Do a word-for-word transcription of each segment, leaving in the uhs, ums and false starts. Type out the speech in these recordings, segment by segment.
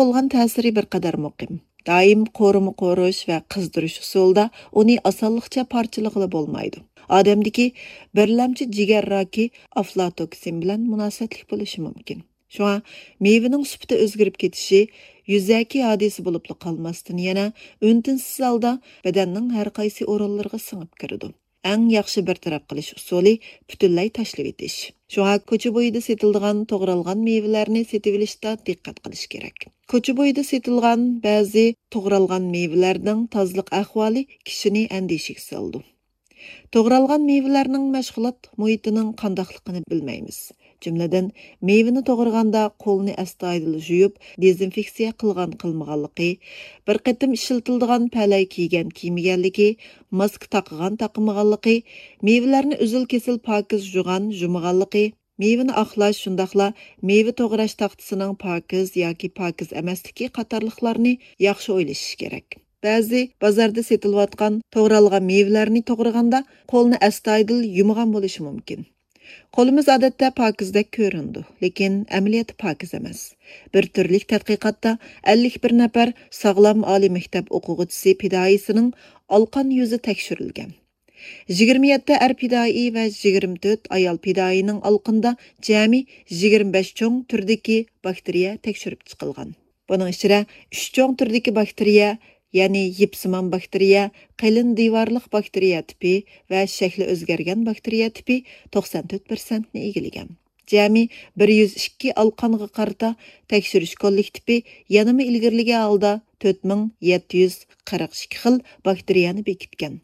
بولغان تەسىرى بىر قەدەر مۇقىم. دائىم قورۇما قورۇش ۋە قىزدۇرۇش ئۇسۇلىدا ئۇنى ئاسانلىقچە پارچىلىغىلى بولمايدۇ. ئادەمدىكى بىرلەمچى جىگەر راكى ئافلاتوكسىن بىلەن مۇناسىۋەتلىك بولۇشى مۇمكىن. شۇڭا مېۋىنىڭ سۈپىتى ئۆزگىرىپ كېتىشى يۈزەكى ھادىسە بولۇپلا قالماستىن، يەنە ئۈن-تىنسىز ھالدا بەدەننىڭ ھەر قايسى ئورۇنلىرىغا سىڭىپ كىرىدۇ. ئەڭ ياخشى بىر تەرەپ قىلىش ئۇسۇلى پۈتۈنلەي تاشلىۋېتىش. شۇڭا كوچا بويىدا سېتىلىدىغان توغرالغان مېۋىلەرنى سېتىۋېلىشتا دىققەت قىلىش كېرەك. كوچا بويىدا سېتىلغان بەزى توغرالغان مېۋىلەرنىڭ تازىلىق ئەھۋالى كىشىنى ئەندىشىگە سالىدۇ. توغرالغان مېۋىلەرنىڭ مەشغۇلات مۇھىتىنىڭ قانداقلىقىنى بىلمەيمىز. جۈملىدىن، مېۋىنى توغرىغاندا قولنى ئەستايىدىل يۇيۇپ، دېزىنفېكسىيە قىلغان-قىلمىغانلىقى، بىر قېتىم ئىشلىتىلىدىغان پەلەي كىيگەن كىيمىگەنلىكى، ماسكا تاقىغان-تاقىمىغانلىقى، مېۋىلەرنى ئۈزۈل-كېسىل پاكىز جۇغان-جۇمىغانلىقى، مېۋىنى ئاقلاش، شۇنداقلا مېۋە توغراش تاختىسىنىڭ پاكىز ياكى پاكىز ئەمەسلىكى قاتارلىقلارنى ياخشى ئويلىشىش كېرەك. بەزى بازاردا سېتىلىۋاتقان توغرالغان مېۋىلەرنى توغرىغاندا قولنى ئەستايىدىل يۇمىغان بولۇشى مۇمكىن. قولىمىز ئادەتتە پاكىزدەك كۆرۈنىدۇ، لېكىن ئەمەلىيەتتە پاكىز ئەمەس. بىر تۈرلۈك تەتقىقاتتا ئەللىك بىر نەپەر ساغلام ئالىي مەكتەپ ئوقۇغۇچىسى پىدائىيسىنىڭ ئالقان يۈزى تەكشۈرۈلگەن. يىگىرمە يەتتە ئەر پىدائىي ۋە يىگىرمە تۆت ئايال پىدائىينىڭ ئالقىنىدا جەمئىي يىگىرمە بەش چوڭ تۈردىكى باكتېرىيە تەكشۈرۈپ چىقىلغان. بۇنىڭ ئىچىدە ئۈچ چوڭ تۈردىكى باكتېرىيە، يەنى يىپسىمان باكتېرىيە، قېلىن دىۋارلىق باكتېرىيە تىپى ۋە شەكلى ئۆزگەرگەن باكتېرىيە تىپى توقسان تۆت پىرسەنتنى ئىگىلىگەن. جەمئىي بىر يۈز ئىككى ئالقانغا قارىتا تەكشۈرۈش كوللېكتىپى يەنىمۇ ئىلگىرىلىگەن ھالدا تۆت مىڭ يەتتە يۈز قىرىق ئىككى خىل باكتېرىيەنى بېكىتكەن.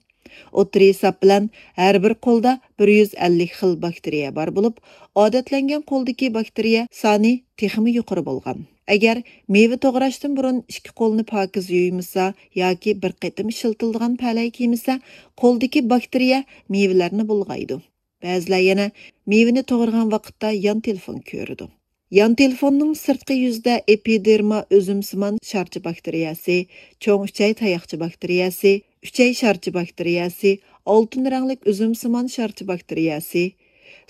ئوتتۇرا ھېساب بىلەن ھەر بىر قولدا بىر يۈز ئەللىك خىل باكتېرىيە بار بولۇپ، ئادەتلەنگەن قولدىكى باكتېرىيە سانى تېخىمۇ يۇقىرى بولغان. ئەگەر مېۋە توغراشتىن بۇرۇن ئىككى قولنى پاكىز يۇيمىسا ياكى بىر قېتىم ئىشلىتىلىدىغان پەلەي كىيمىسە، قولدىكى باكتېرىيە مېۋىلەرنى بۇلغايدۇ. بەزىلەر يەنە مېۋىنى توغرىغان ۋاقىتتا يان تېلېفون كۆرىدۇ. يان تېلېفوننىڭ سىرتقى يۈزىدە ئېپىدېرما ئۈزۈمسىمان شارچە باكتېرىيەسى، چوڭ ئۈچەي تاياقچە باكتېرىيەسى، ئۈچەي شارچە باكتېرىيەسى، ئالتۇن رەڭلىك ئۈزۈمسىمان شارچە باكتېرىيەسى،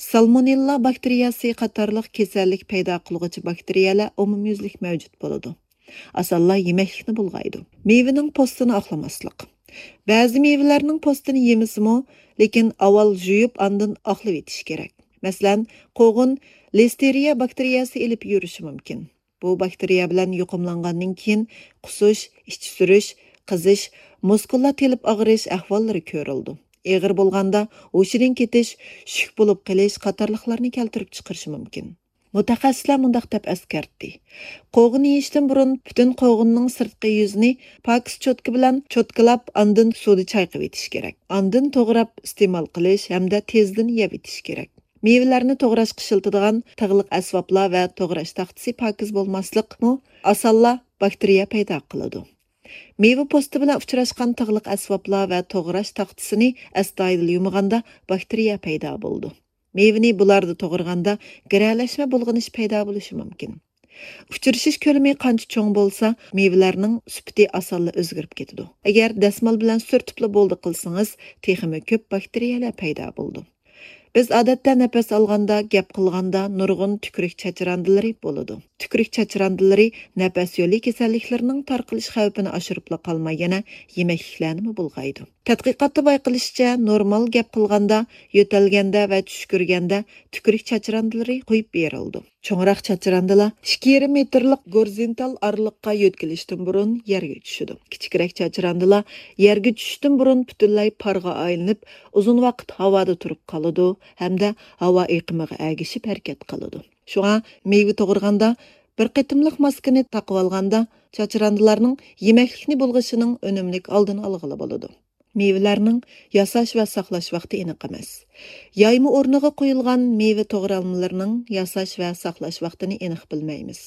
سالمونېللا باكتېرىيەسى قاتارلىق كېسەللىك پەيدا قىلغۇچى باكتېرىيەلەر ئومۇميۈزلۈك مەۋجۇت بولىدۇ. ئاسانلا يېمەكلىكنى بۇلغايدۇ. مېۋىنىڭ پوستىنى ئاقلىماسلىق. بەزى مېۋىلەرنىڭ پوستىنى يېمىسىمۇ، لېكىن ئاۋۋال يۇيۇپ، ئاندىن ئاقلىۋېتىش كېرەك. مەسىلەن، قوغۇن لىستېرىيە باكتېرىيەسى ئېلىپ يۈرۈشى مۇمكىن. بۇ باكتېرىيە بىلەن يۇقۇملانغاندىن كېيىن قۇسۇش، ئىچى سۈرۈش، قىزىش، مۇسكۇللار تېلىپ ئاغرىش ئەھۋاللىرى كۆرۈلىدۇ. ئېغىر بولغاندا ھوشىدىن كېتىش، شۈك بولۇپ قېلىش قاتارلىقلارنى كەلتۈرۈپ چىقىرىشى مۇمكىن. مۇتەخەسسىسلەر مۇنداق دەپ ئەسكەرتتى: قوغۇن يېيىشتىن بۇرۇن پۈتۈن قوغۇننىڭ سىرتقى يۈزىنى پاكىز چوتكا بىلەن چوتكىلاپ، ئاندىن سۇدا چايقىۋېتىش كېرەك. ئاندىن توغراپ ئىستېمال قىلىش ھەمدە تېزدىن يەۋېتىش كېرەك. مېۋىلەرنى توغراشقا ئىشلىتىدىغان تىغلىق ئەسۋابلار ۋە توغراش تاختىسى پاكىز بولماسلىقمۇ ئاسانلا باكتېرىيە پەيدا قىلىدۇ. مېۋە پوستى بىلەن ئۇچراشقان تىغلىق ئەسۋابلار ۋە توغراش تاختىسىنى ئەستايىدىل يۇمىغاندا باكتېرىيە پەيدا بولىدۇ. مېۋىنى بۇلاردا توغرىغاندا گىرەلەشمە بۇلغىنىش پەيدا بولۇشى مۇمكىن. ئۇچرىشىش كۆلىمى قانچە چوڭ بولسا، مېۋىلەرنىڭ سۈپىتى ئاسانلا ئۆزگىرىپ كېتىدۇ. ئەگەر دەسمال بىلەن سۈرتۈپلا بولدى قىلسىڭىز، تېخىمۇ كۆپ باكتېرىيەلەر پەيدا بولىدۇ. بىز ئادەتتە نەپەس ئالغاندا، گەپ قىلغاندا نۇرغۇن تۈكرۈك چاچراندىلىرى بولىدۇ. تۈكرۈك چاچراندىلىرى نەپەس يولى كېسەللىكلىرىنىڭ تارقىلىش خەۋپىنى ئاشۇرۇپلا قالماي، يەنە يېمەكلىكلەرنىمۇ بۇلغايدۇ. تەتقىقاتتا بايقىلىشىچە، نورمال گەپ قىلغاندا، يۆتەلگەندە ۋە چۈشكۈرگەندە تۈكرۈك چاچراندىلىرى قويۇپ بېرىلىدۇ. چوڭراق چاچراندىلا ئىككى يېرىم مېتىرلىق گورزونتال ئارىلىققا يۆتكىلىشتىن بۇرۇن يەرگە چۈشىدۇ. كىچىكرەك چاچراندىلا يەرگە چۈشۈشتىن بۇرۇن پۈتۈنلەي پارغا ئايلىنىپ، ئۇزۇن ۋاقىت ھاۋادا تۇرۇپ قالىدۇ ھەمدە ھاۋا ئېقىمىغا ئەگىشىپ ھەرىكەت قىلىدۇ. شۇڭا مېۋە توغرىغاندا، بىر قېتىملىق ماسكىنى تاقىۋالغاندا، چاچراندىلارنىڭ يېمەكلىكنى بۇلغىشىنىڭ ئۈنۈملۈك ئالدىنى ئالغىلى بولىدۇ. مېۋىلەرنىڭ ياساش ۋە ساقلاش ۋاقتى ئېنىق ئەمەس. يايما ئورنىغا قويۇلغان مېۋە توغرالمىلىرىنىڭ ياساش ۋە ساقلاش ۋاقتىنى ئېنىق بىلمەيمىز.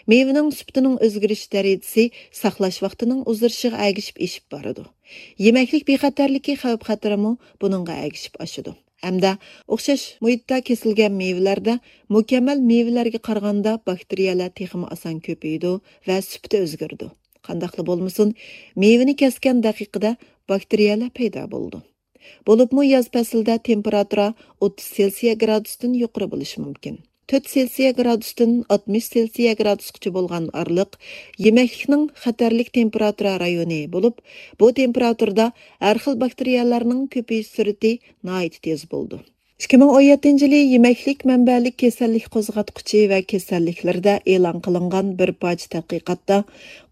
مېۋىنىڭ سۈپىتىنىڭ ئۆزگىرىش دەرىجىسى ساقلاش ۋاقتىنىڭ ئۇزىرىشىغا ئەگىشىپ ئېشىپ بارىدۇ. يېمەكلىك بىخەتەرلىكى خەۋپ-خەتىرىمۇ بۇنىڭغا ئەگىشىپ ئاشىدۇ. ھەمدە ئوخشاش مۇھىتتا كېسىلگەن مېۋىلەردە مۇكەممەل مېۋىلەرگە قارىغاندا باكتېرىيەلەر تېخىمۇ ئاسان كۆپىيىدۇ ۋە سۈپىتى ئۆزگىرىدۇ. قانداقلا بولمىسۇن، مېۋىنى كەسكەن دەقىقىدە باكتېرىيەلەر پەيدا بولىدۇ. بولۇپمۇ ياز پەسلىدە تېمپېراتۇرا ئوتتۇز سېلسىيە گرادۇستىن يۇقىرى بولۇشى مۇمكىن. تۆت سېلسىيە گرادۇستىن ئاتمىش سېلسىيە گرادۇسقىچە بولغان ئارىلىق يېمەكلىكنىڭ خەتەرلىك تېمپېراتۇرا رايونى بولۇپ، بۇ تېمپېراتۇرىدا ھەر خىل باكتېرىيەلەرنىڭ كۆپىيىش سۈرئىتى ناھايىتى تېز بولىدۇ. ئىككى مىڭ ئون يەتتىنچى يىلى يېمەكلىك مەنبەلىك كېسەللىك قوزغاتقۇچى ۋە كېسەللىكلىرىدە ئېلان قىلىنغان بىر پارچە تەتقىقاتتا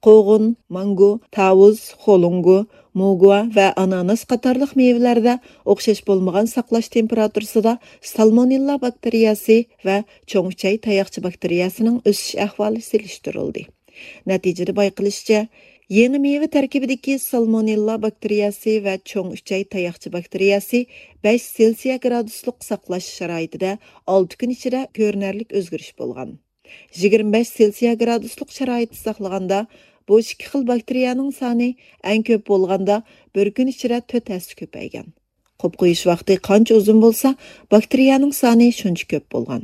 قوغۇن، مانگو، تاۋۇز، خولۇڭگو، موگۇا ۋە ئاناناس قاتارلىق مېۋىلەردە ئوخشاش بولمىغان ساقلاش تېمپېراتۇرىسىدا سالمونېللا باكتېرىيەسى ۋە چوڭ ئۈچەي تاياقچە باكتېرىيەسىنىڭ ئۆسۈش ئەھۋالى سېلىشتۇرۇلدى. نەتىجىدە بايقىلىشىچە، يېڭى مېۋە تەركىبىدىكى سالمونېللا باكتېرىيەسى ۋە چوڭ ئۈچەي تاياقچە باكتېرىيەسى بەش سېلسىيە گرادۇسلۇق ساقلاش شارائىتىدە ئالتە كۈن ئىچىدە كۆرۈنەرلىك ئۆزگىرىش بولغان. يىگىرمە بەش سېلسىيە گرادۇسلۇق شارائىتتا ساقلىغاندا، بۇ ئىككى خىل باكتېرىيەنىڭ سانى ئەڭ كۆپ بولغاندا بىر كۈن ئىچىدە تۆت ھەسسە كۆپەيگەن. قوپ قويۇش ۋاقتى قانچە ئۇزۇن بولسا، باكتېرىيەنىڭ سانى شۇنچە كۆپ بولغان.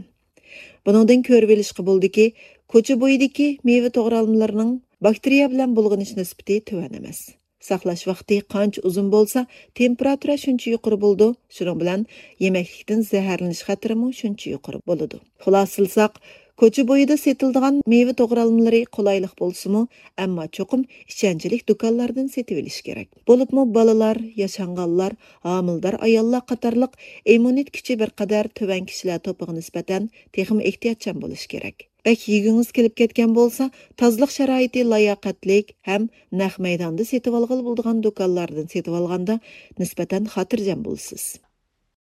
بۇنىڭدىن كۆرۈۋېلىشقا بولىدۇكى، كوچا بويىدىكى مېۋە توغرالمىلىرىنىڭ باكتېرىيە بىلەن بۇلغىنىش نىسبىتى تۆۋەن ئەمەس. ساقلاش ۋاقتى قانچە ئۇزۇن بولسا، تېمپېراتۇرا شۇنچە يۇقىرى بولىدۇ، شۇنىڭ بىلەن يېمەكلىكتىن زەھەرلىنىش خەتىرىمۇ شۇنچە يۇقىرى بولىدۇ. خۇلاسىلىساق، كوچا بويىدا سېتىلىدىغان مېۋە توغرالمىلىرى قولايلىق بولسىمۇ، ئەمما چوقۇم ئىشەنچلىك دۇكانلاردىن سېتىۋېلىش كېرەك. بولۇپمۇ بالىلار، ياشانغانلار، ھامىلىدار ئاياللار قاتارلىق ئىممۇنىتېت كۈچى بىر قەدەر تۆۋەن كىشىلەر توپىغا نىسبەتەن تېخىمۇ ئېھتىياتچان بولۇش كېرەك. بەك يېگۈڭىز كېلىپ كەتكەن بولسا، تازىلىق شارائىتى لاياقەتلىك ھەم نەق مەيداندا سېتىۋالغىلى بولىدىغان دۇكانلاردىن سېتىۋالغاندا نىسبەتەن خاتىرجەم بولىسىز.